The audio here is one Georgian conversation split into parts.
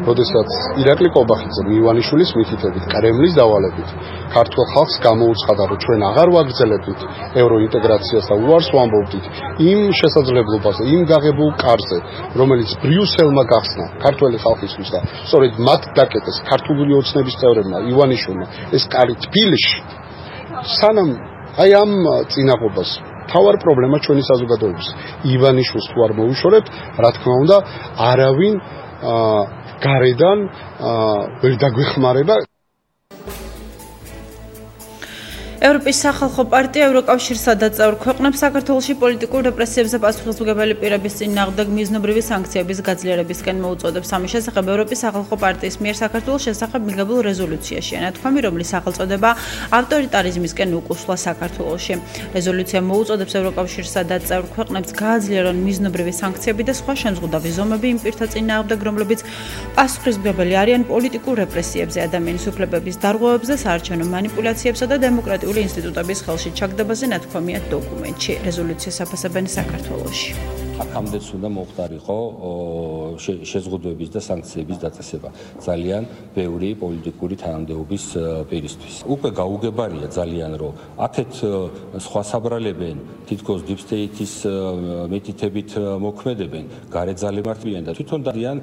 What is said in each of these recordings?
როდესაც ირაკლი კობახიძე მივანიშვილის მითითებით კრემლის დავალებით ქართულ ხალხს გამოუცხადა, რომ ჩვენ აღარ ვაგრძელებთ ევროინტეგრაციას და უარს ვამბობთ იმ შესაძლებლობაზე, იმ გაღებულ კარზე, რომელიც ბრიუსელმა გახსნა ქართველი ხალხისთვის და სწორედ მათ დაკეტეს ქართული ოცნების წევრებმა ივანიშვილმა ეს კარი თბილისში. სანამ აი ამ წინაღობას თავარ პრობლემა ჩვენი საზოგადოების ივანიშვილს თუ არ მოვიშორებთ, რა თქმა უნდა, არავინ გარედან ვერ დაგვეხმარება. ევროპის სახალხო პარტია ევროკავშირსა და წევრ ქვეყნებს საქართველოში პოლიტიკურ რეპრესიებზე პასუხისმგებელი პირების წინააღმდეგ მიზნობრივი სანქციების გაძლიერებისკენ მოუწოდებს. ამის შესახებ ევროპის სახალხო პარტიის მიერ საქართველოს შესახებ მიღებულ რეზოლუციაშია ნათქვამი, რომლის სახელწოდება ავტორიტარიზმისკენ უკუსვლა საქართველოში. რეზოლუცია მოუწოდებს ევროკავშირსა და წევრ ქვეყნებს გააძლიერონ მიზნობრივი სანქციები და სხვა შემზღუდავი ზომები იმ პირთა წინააღმდეგ, რომლებიც პასუხისმგებელი არიან პოლიტიკურ რეპრესიებზე, ადამიანის უფლებების დარღვევებზე, საარჩევნო მანიპულაციებსა და დემოკრატიულ ინსტიტუტების ხელში ჩაგდებაზე ნათქვამია დოკუმენტში. რეზოლუციას აფასებენ საქართველოში. აქამდეც უნდა მოხდარიყო შეზღუდვების და სანქციების დაწესება ძალიან ბევრი პოლიტიკური თანამდებობის პირისთვის. უკვე გაუგებარია ძალიან, რომ აქეთ სხვა საბრალებენ, თითქოს deep state-ის მეთითებით მოქმედებენ, გარეძალებენ და თვითონ დადიან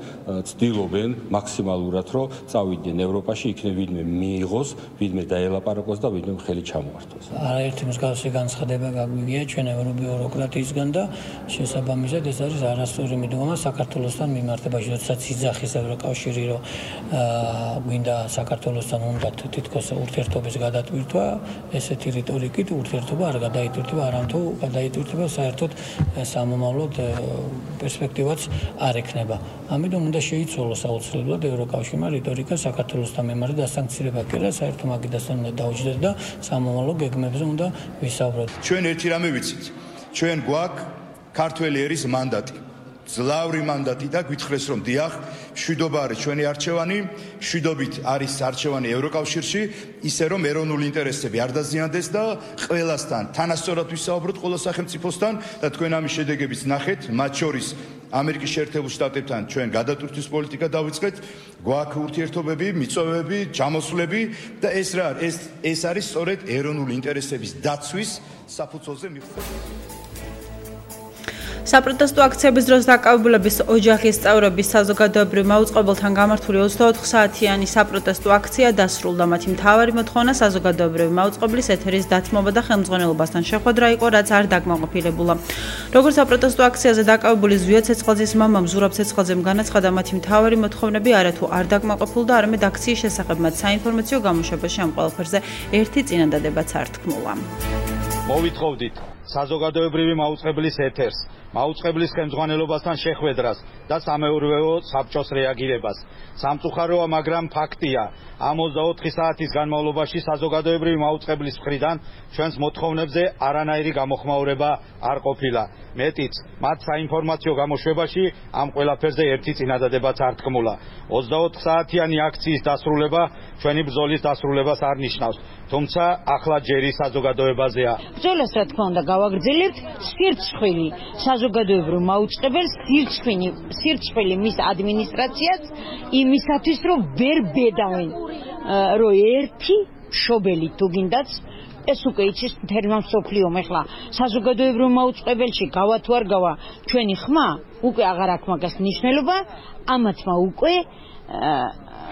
ცდილობენ მაქსიმალურად, რომ წავიდნენ ევროპაში, იქნებ ვინმე მიიღოს, ვინმე დაელაპარაკოს და ვინმე ხელი ჩამოართვას. არაერთი მსგავსი განცხადება გაგვიგია ჩვენ ევრობიუროკრატიისგან და შესაბამისად ეს არის არასწორი მიდგომა საქართველოსთან მიმართებაში, როდესაც იძახის ევროკავშირი, რომ გვინდა საქართველოსთან უნდა თითქოს ურთიერთობის გადატვირთვა, ესეთი რიტორიკით ურთიერთობა არ გადაიტვირთება, არამთუ გადაიტვირთება საერთოდ სამომავლოდ პერსპექტივაც არ ექნება. ამიტომ უნდა შეიცვალოს აუცილებლად ევროკავშირმა რიტორიკა საქართველოსთან მიმართ დასანქცირება კი არა, საერთო მაგიდასთან უნდა დაუჯდეთ და სამომავლო გეგმებზე უნდა ვისაუბროთ. ჩვენ ერთი რამე ვიცით. ჩვენ გვაქვს ქართველი ერის მანდატი, ძლავრი მანდატი და გვითხრეს რომ დიახ, მშვიდობა არის ჩვენი არჩევანი, მშვიდობით არის არჩევანი ევროკავშირში, ისე რომ ეროვნული ინტერესები არ დაზიანდეს და ყველასთან თანასწორად ვისაუბროთ ყველა სახელმწიფოსთან და თქვენ ამის შედეგებიც ნახეთ, მათ შორის ამერიკის შეერთებულ შტატებთან ჩვენ გადატვირთვის პოლიტიკა დავიწყეთ, გვაქვს ურთიერთობები, მიწოვებები, ჯამოსვლები და ეს არის სწორედ ეროვნული ინტერესების დაცვის საფუძველზე მიღწეული. საპროტესტო აქციების დროს დაკავებულების ოჯახის წევრების საზოგადოებრივ მაუწყებელთან გამართული 24 საათიანი საპროტესტო აქცია დასრულდა. მათი მთავარი მოთხოვნა საზოგადოებრივი მაუწყებლის ეთერის დათმობა და ხელმძღვანელობასთან შეხვედრა იყო, რაც არ დაკმაყოფილებულა. როგორც საპროტესტო აქციაზე დაკავებული ზვია ცეცხლაძის მამამ ზურაბ ცეცხლაძემ განაცხადა, მათი მთავარი მოთხოვნები არათუ არ დაკმაყოფილდა, არამედ აქციის შესახებ მათ საინფორმაციო გამოშვებაში ამ ყველაფერზე ერთი წინადადებაც არ თქმულა. მოვითხოვდით საზოგადოებრივი მაუწყებლის ეთერს, მაუწყებლის ხელმძღვანელობასთან შეხვედრას და სამეურვეო საბჭოს რეაგირებას. სამწუხაროა, მაგრამ ფაქტია, ამ 24 საათის განმავლობაში საზოგადოებრივი მაუწყებლის მხრიდან ჩვენს მოთხოვნებზე არანაირი გამოხმაურება არ ყოფილა. მეტიც, მათ საინფორმაციო გამოშვებაში ამ ყველაფერზე ერთი წინადადებაც არ თქმულა. 24 საათიანი აქციის დასრულება ჩვენი ბრძოლის დასრულებას არ ნიშნავს, თუმცა ახლა ჯერი საზოგადოებაზეა. ბრძოლას რა თქმა უნდა გავაგრძელებთ, სირცხვილი საზოგადოებრივ მაუწყებელს, სირცხვილი მის ადმინისტრაციას იმისათვის, რომ ვერ ბედავენ, რომ ერთი მშობელი თუ გინდაც ეს უკვე იცის მთელმა მსოფლიომ. ეხლა საზოგადოებრივ მაუწყებელში გავა თუ არ გავა ჩვენი ხმა, უკვე აღარ აქვს მაგას მნიშვნელობა, ამათმა უკვე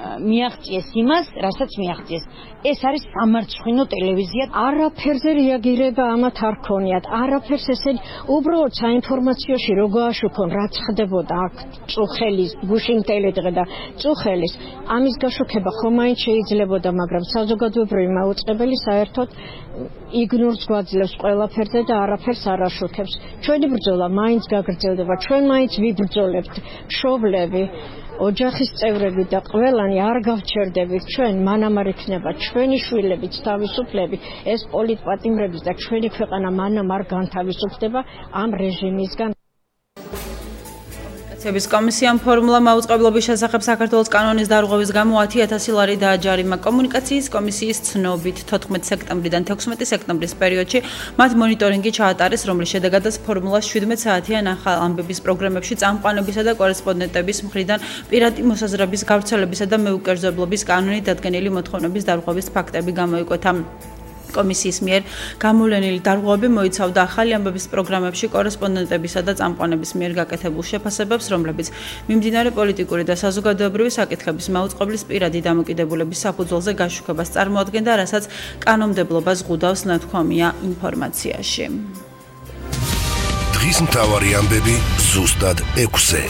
მიაღწიეს იმას, რასაც მიაღწიეს. ეს არის სამარცხვინო ტელევიზია. არაფერზე რეაგირება ამათ არ ქონიათ. არაფერს ესენი უბრალოდ საინფორმაციოში რო გააშუქონ, რაც ხდებოდა აქ წუხელის, გუშინ ტელედღე და წუხელის, ამის გაშუქება ხომ მაინც შეიძლებოდა, მაგრამ საზოგადოებრივი მაუწყებელი საერთოდ იგნორს გვაძლევს ყველაფერზე და არაფერს არ აშუქებს. ჩვენი ბრძოლა მაინც გაგრძელდება, ჩვენ მაინც ვიბრძოლებთ, მშობლები, ოჯახის წევრები და ყველანი არ გავჩერდებით, ჩვენ მანამ არ იქნება ჩვენი შვილებიც თავისუფლები, ეს პოლიტპატიმრების და ჩვენი ქვეყანა მანამ არ განთავისუფლდება ამ რეჟიმისგან. ების კომისიამ ფორმულა მაუწყებლობის შესახებ საქართველოს კანონის დარღვევის გამო 10,000 ლარი დააჯარიმა. კომუნიკაციის კომისიის ცნობით 14 სექტემბრიდან 16 სექტემბრის პერიოდში მათ მონიტორინგი ჩაატარეს, რომლის შედეგადაც ფორმულა 17 საათიან ახალ ამბების პროგრამებში წამყვანებისა და კორესპონდენტების მხრიდან პირადი მოსაზრების გავრცელებისა და მეუკერძებლობის კანონით დადგენილი მოთხოვნების დარღვევის ფაქტები გამოიკვეთა. კომისიის მიერ გამოვლენილი დარღვევები მოიცავდა ახალი ამბების პროგრამებში კორესპონდენტებისა და წამყვანების მიერ გაკეთებულ შეფასებებს, რომლებიც მიმდინარე პოლიტიკური და საზოგადოებრივი საკითხების მაუწყებლის პირადი დამოკიდებულების საფუძველზე გაშუქებას წარმოადგენდა, რასაც კანონმდებლობა ზღუდავს ნათქვამია ინფორმაციაში. დღის მთავარი ამბები ზუსტად 6-ზე.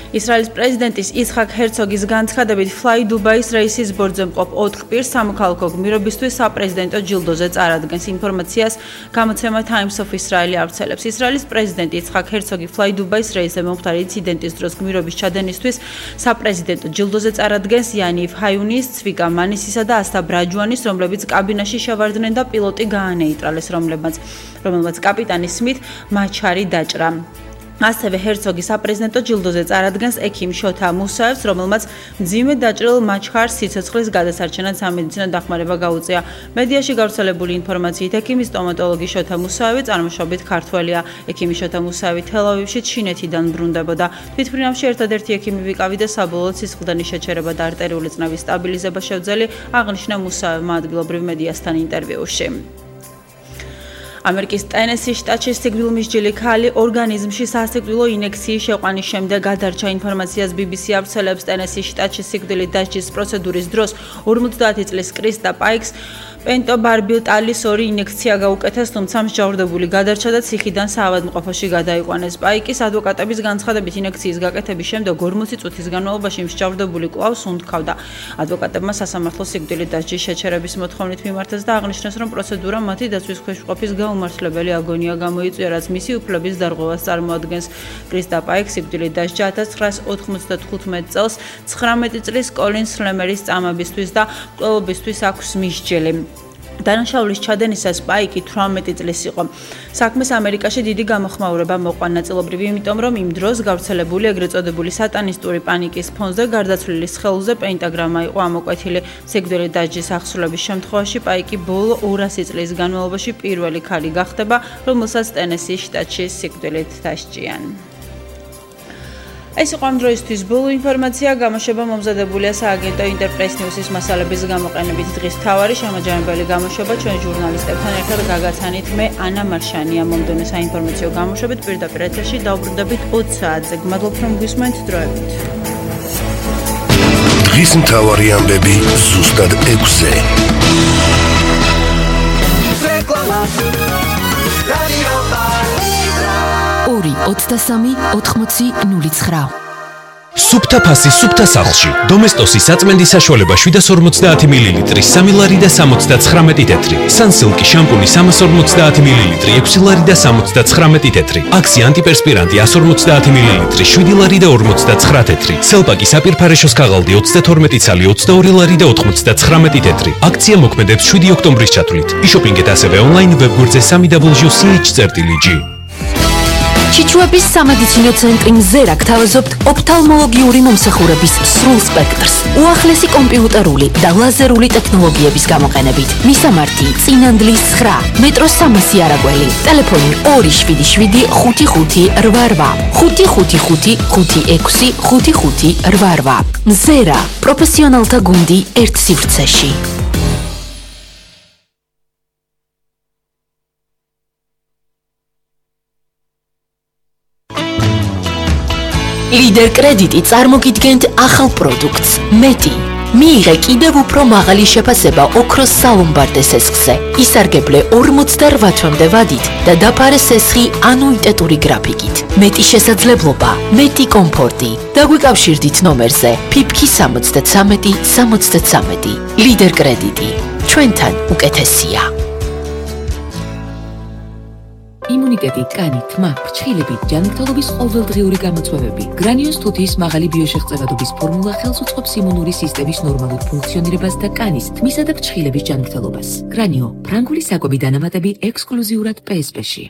ისრაელის პრეზიდენტის იცხაკ ჰერცოგის განცხადებით Fly Dubai-ის რეისის ბორცვზე მყოფ 4 პირს სამოქალაქო გმირობისთვის საპრეზიდენტო ჯილდოზე წარადგენს. ინფორმაციას გამოცემა Times of Israel ავრცელებს. ისრაელის პრეზიდენტი იცხაკ ჰერცოგი Fly Dubai-ის რეისზე მომხდარი ინციდენტის დროს გმირობის ჩადენისთვის საპრეზიდენტო ჯილდოზე წარადგენს იანივ ჰაიუნის, ცვიკა მანისისა და ასთა ბრაჯვანის, რომლებიც კაბინაში შევარდნენ და პილოტი გაანეიტრალეს, რომელმაც კაპიტანი სმით მაჩარი დაჭრა. ასევე ჰერცოგი საპრეზიდენტო ჯილდოზე წარადგენს ექიმ შოთა მუსაევს, რომელმაც მძიმე დაჭრილ მაჩხარს სიცოცხლის გადასარჩენად სამედიცინო დახმარება გაუწია. მედიაში გავრცელებული ინფორმაციით ექიმი სტომატოლოგი შოთა მუსაევი წარმოშობით ქართველია. ექიმი შოთა მუსაევი თელ-ავივში ჩინეთიდან ბრუნდებოდა. თვითმფრინავში ერთადერთი ექიმი ვიკავი და საბოლოოდ სისხლდენის შეჩერება და არტერიული წნევის სტაბილიზება შეუძლია, აღნიშნა მუსაევმა ადგილობრივ მედიასთან ინტერვიუში. ამერიკის ტენესის შტატში სიკვდილმისჯილი ქალი ორგანიზმში სასიკვდილო ინექციის შეყვანის შემდეგ გადარჩა. ინფორმაციას BBC ავრცელებს. ტენესის შტატში სიკვდილით დასჯის პროცედურის დროს 50 წლის კრისტა პაიქს პენტობარბიტალის 2 ინექცია გაუკეთეს, თუმცა მსჯავრდებული გადარჩა და ციხიდან საავადმყოფოში გადაიყვანეს. პაიკის ადვოკატების განცხადებით ინექციის გაკეთების შემდეგ 40 წუთის განმავლობაში მსჯავრდებული კვლავ სუნთქავდა. ადვოკატებმა სასამართლო სიკვდილით დასჯის შეჩერების მოთხოვნით მიმართეს და აღნიშნეს, რომ პროცედურა მათი დაცვის ქვეშყოფის გაუმართლებელი აგონია გამოიწვია, რაც მისი უფლების დარღვევას წარმოადგენს. კრისტა პაიქს სიკვდილით დასჯა 1995 წელს 19 წლის კოლინ სლემერის წამებისთვის და მკვლელობისთვის აქვს მისჯილი. დანაშაულის ჩადენისას პაიკი 18 წლის იყო. საქმეს ამერიკაში დიდი გამოხმაურება მოყვა, ნაწილობრივ იმიტომ, რომ იმ დროს გავრცელებული ეგრეთ წოდებული სატანისტური პანიკის ფონზე გარდაცვლილის ხელზე პენტაგრამა იყო ამოკვეთილი. სიკვდილით დასჯის აღსრულების შემთხვევაში პაიკი ბოლო 200 წლის განმავლობაში პირველი ქალი გახდება, რომელსაც ტენესის შტატში სიკვდილით დასჯიან. ეს იყო ამ დროისთვის ბოლო ინფორმაცია. გამოშვება მომზადებულია სააგენტო ინტერპრეს ნიუსის მასალების გამოყენებით. დღის მთავარი შემაჯამებელი გამოშვება ჩვენ ჟურნალისტებთან ერთად გაგაცანით მე ანა მარშანია. მომდევნო საინფორმაციო გამოშვებით პირდაპირ ეთერში დავბრუნდებით 20 საათზე. გმადლობთ რომ გვისმენთ დროებით. დღის მთავარი ამბები ზუსტად 6-ზე. 2-23-80-09. სუფთა ფასი სუფთა სახლში. დომესტოსის საწმენდი საშუალება 750 მლ, 3 ლარი და 79 თეთრი. სანსილკი შამპუნი 350 მლ, 6 ლარი და 79 თეთრი. აქსი ანტიპერსპირანტი 150 მლ, 7 ლარი და 59 თეთრი. სელპაკი საპირფარეშოს ქაღალდი 32 ცალი, 22 ლარი და 99 თეთრი. აქცია მოქმედებს 7 ოქტომბრის ჩათვლით. იშოპინგეთ ასევე ონლაინ ვებგვერდზე www.ch.ch. ჩიჩუების სამედიცინო ცენტრი მზერა გთავაზობთ ოფთალმოლოგიური მომსახურების სრულ სპექტრს. უახლესი კომპიუტერული და ლაზერული ტექნოლოგიების გამოყენებით. მისამართი: წინანდლის 9, მეტროს 300 არაგველი. ტელეფონი 277 55 88 555 56 55 88. მზერა პროფესიონალთა გუნდი ერთ სივრცეში. ლიდერ კრედიტი წარმოგიდგენთ ახალ პროდუქტს მეტი. მიიღე კიდევ უფრო მაღალი შეფასება ოქროს სალომბარდე სესხზე. ისარგებლე 48 თვემდე ვადით და დაფარე სესხი ანუიტეტური გრაფიკით. მეტი შესაძლებლობა, მეტი კომფორტი. დაგვიკავშირდით ნომერზე ფიფქი 73 73. ლიდერ კრედიტი. ჩვენთან უკეთესია. იმუნიტეტი, კანი, თმა, ფრჩხილები, ჯანმრთელობის ყოველდღიური გამოწვევები. გრანიოს თუთიის მაღალი ბიოშეღწევადობის ფორმულა ხელს უწყობს იმუნური სისტემის ნორმალურ ფუნქციონირებას და კანის, თმისა და ფრჩხილების ჯანმრთელობას. გრანიო, ფრანგული საკვები დანამატები ექსკლუზიურად PSP-ში.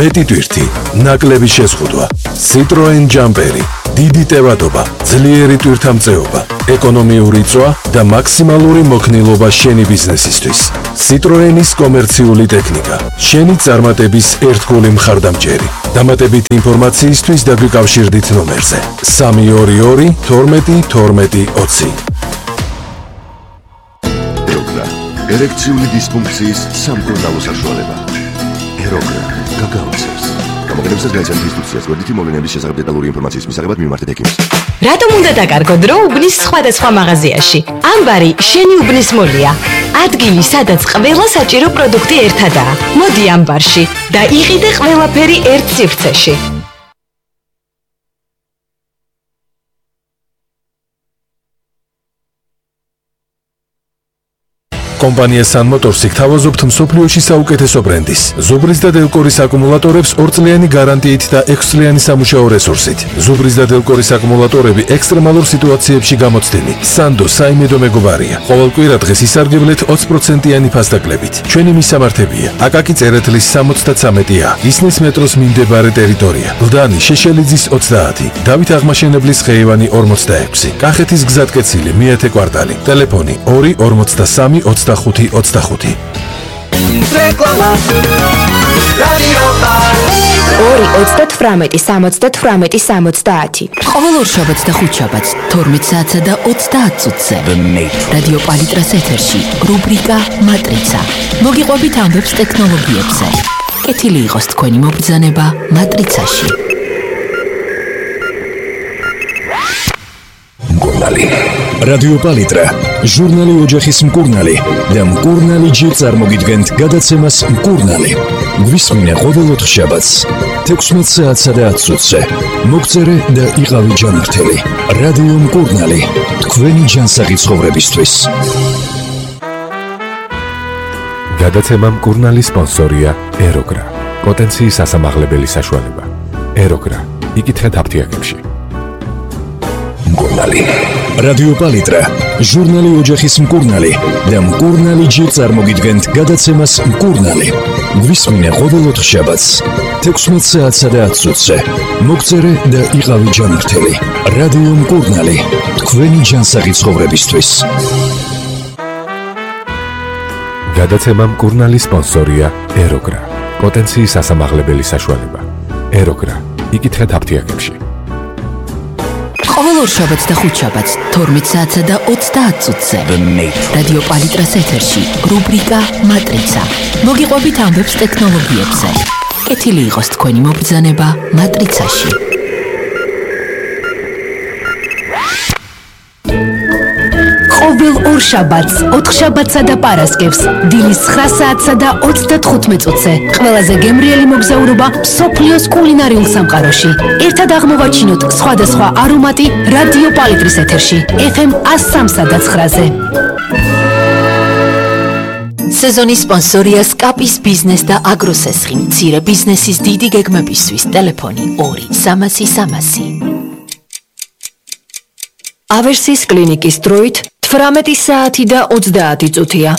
მეტი ტვირთი, ნაკლები შეზღუდვა. Citroen Jumperi. დიდი ტევადობა, ძლიერი ტვირთამწეობა, ეკონომიური წვა და მაქსიმალური მოქნილობა შენი ბიზნესისთვის. Citroenis კომერციული ტექნიკა. შენი წარმატების ერთგული მხარდამჭერი. დამატებითი ინფორმაციისთვის დაგვიკავშირდით ნომერზე 322 12 12 20. ეროგრა ერექციული დისფუნქციის სამკურნალო საშუალება. ეროგრა გაგაოცებს. გამოგონებისას გაიცანთ ინსტრუქციას გვერდითი მოვლენების შესახებ დეტალური ინფორმაციის მისაღებად მიმართეთ ექიმს. რატომ უნდა დაკარგოთ დრო უბნის სხვადასხვა მაღაზიაში? ამბარი შენი უბნის მოლია. ადგილი, სადაც ყველა საჭირო პროდუქტი ერთადაა. მოდი ამბარში და იყიდე ყველაფერი ერთ სივრცეში. კომპანია Sun Motors გთავაზობთ მსოფლიოში საუკეთესო ბრენდის, ზუბრის და დელკორის აკუმულატორებს 2 წლიანი გარანტიით და 6 წლიანი სამუშაო რესურსით. ზუბრის და დელკორის აკუმულატორები ექსტრემალურ სიტუაციებში გამოცდილი. Sando საიმედო მეგობარია. ყოველ კვირა დღეს ისარგებლეთ 20%-იანი ფასდაკლებით. ჩვენი მისამართებია: აკაკი წერეთლის 73-ა, ისნის მეტროს მიმდებარე ტერიტორია, ლდანი შეშელიძის 30, დავით აღმაშენებლის ხეივანი 46, კახეთის გზატკეცილი მეათე კვარტალი, ტელეფონი 2 43 25 რეკლამა რადიო პალი 2-38-70-70. ყოველ ორშაბათს და ხუთშაბათს 12 საათსა და 30 წუთზე რადიო პალიტრას ეთერში რუბრიკა მატრიცა. მოგიყვებით ამბებს ტექნოლოგიებზე. კეთილი იყოს თქვენი მობრძანება მატრიცაში. მკურნალი რადიო პალიტრა ჟურნალი ოჯახის მკურნალი და მკურნალი ჯერ წარმოგიდგენთ გადაცემას მკურნალი. გვისმინე ყოველ ოთხშაბათს 16 საათსა და 10 წუთზე. მოგწერე და იყავი ჯანმრთელი. რადიო მკურნალი თქვენი ჯანსაღი ცხოვრებისთვის. გადაცემა მკურნალი სპონსორია ეროგრა. პოტენციის ასამაღლებელი საშუალება. ეროგრა. იკითხეთ აფთიაქებში. მკურნალი რადიო პალიტრა ჟურნალი ოჯახის მკურნალი და მკურნალი ჯერ წარმოგიდგენთ გადაცემას მკურნალი. გვისმინე ყოველ ოთხშაბათს 16 საათსა და 10 წუთზე. მოგწერე და იყავი ჯანმრთელი. რადიო მკურნალი თქვენი ჯანსაღი ცხოვრებისთვის. გადაცემა მკურნალი სპონსორია ეროგრა. პოტენციის ასამაღლებელი საშუალება. ეროგრა. იკითხეთ აფთიაქებში. ყოველ ორშაბათს და ხუთშაბათს 12 საათსა და 30 წუთზე რადიო პალიტრას ეთერში რუბრიკა მატრიცა. მოგიყვებით ამბებს ტექნოლოგიებზე. კეთილი იყოს თქვენი მობრძანება მატრიცაში. ყოველ ორშაბათს, ოთხშაბათსა და პარასკევს, დილის 9 საათსა და 35 წუთზე. ყველაზე გემრიელი მოგზაურობა მსოფლიოს კულინარიულ სამყაროში. ერთად აღმოვაჩინოთ სხვადასხვა არომატი რადიო პალიტრის ეთერში, FM 103.9-ზე. სეზონის სპონსორია სკაპის ბიზნეს და აგროსესხი. მცირე ბიზნესის დიდი გეგმებისთვის ტელეფონი 2-300-300. ავერსის კლინიკის დროით 18 საათი და 30 წუთია.